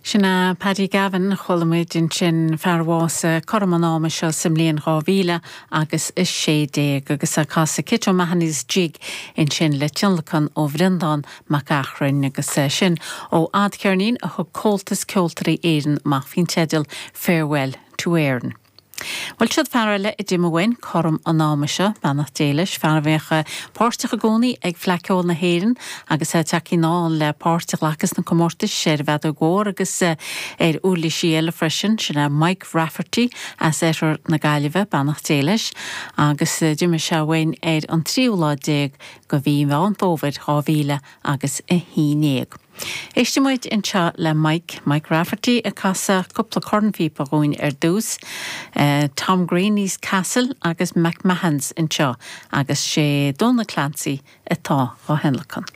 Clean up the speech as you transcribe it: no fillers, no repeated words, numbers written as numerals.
Sin é Paddy Gavin, chuala muid ansin, fear a bhásaigh cothrom an ama seo sa mbliain 2000 agus 16, agus é ag casadh Kit O'Mahony's Jig ansin le tionlacan ó Bhreandán Mac Eachrainn, agus sin ó fhadcheirnín a thug Comhaltas Ceoltóirí Éireann amach faoin teideal Farewell to Erin. Bhuel, siod fear eile a d'imigh uainn cothrom an ama seo, beannacht Dé leis, fear a bhíodh páirteach i gcónaí ag Fleadh Cheoil na hÉireann agus é tagtha anall le páirt a ghlacadh sna comórtais ar an bhfeadóg mhór agus ar uirlisí eile freisin, sin é Mike Rafferty as oirthear na Gaillimhe, beannacht Dé leis, agus d'imigh sé uainn ar an tríú lá déag de mhí Mheán Fómhair 2000 agus 11. Éistfidh muid anseo le Mike, Mike Rafferty ag casadh cúpla cornphíopa dhúinn ar dtús, Tom Greaney's Castle agus McMahon's anseo agus sé Dónal Clancy atá dhá thionlacan.